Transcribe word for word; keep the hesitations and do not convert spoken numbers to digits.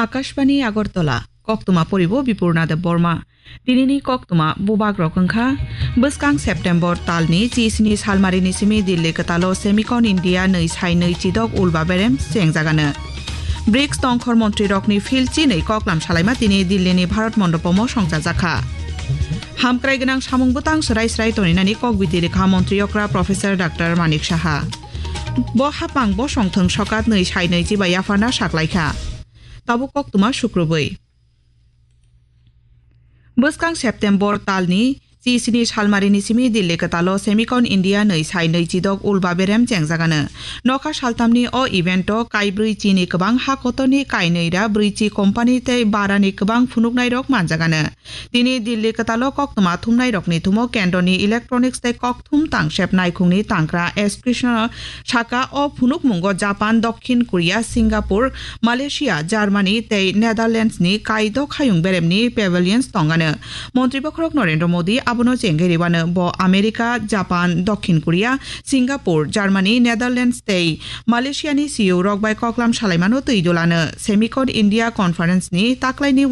Akashbani Agartala, koktwma poribo Bipurna Debbarma. Tinini koktwma bubagrok wngkha, bwskang September talni chisni salmarini simi Delhi kwtalo Semicon India nwi sai nwi chidok ulba berem chengjagano. brics tongkhor montrirokni phil chinwi koklam salaima tini Delhini Bharat Mondopomo songchajakha. Hamkrai gwnang samung bwtang swrai swrai toninani kokbiti rikha montri okra Professor Doctor Manik Saha. Bo hapang bosong thwng sokat nwi sai nwi chiba yapharna saklaikha. Tabuk koktwma sukrubwi. Bwskang September talni chisni salmarini simi Delhi kwtalo Semicon India nwi sai nwi chidok ulba berem chengjagano. Nokha saltamni o evento kaibrwi chini kwbang ha kotorni kainwi ra brwi chi company tei barani kwbang phunuknairok manjagano. Tini Delhi kwtalo koktwma thumnairokni thumo kendroni electronics tei kokthum tangsep naikhungni tangkra S Krishna saka o phunukmungo Japan, Dokhin Korea, Singapore, Malaysia, Germany tei Netherlands ni kaidok hayung beremni pavilions tongano. Montri bokhorok Narendra Modi abono chengwi ribano bo America, Japan, Dokhin Korea, Singapore, Germany, Netherlands tei Malaysia ni C E O rok bai koklam salaimano twi dulano. Semicon India Conference ni taklaini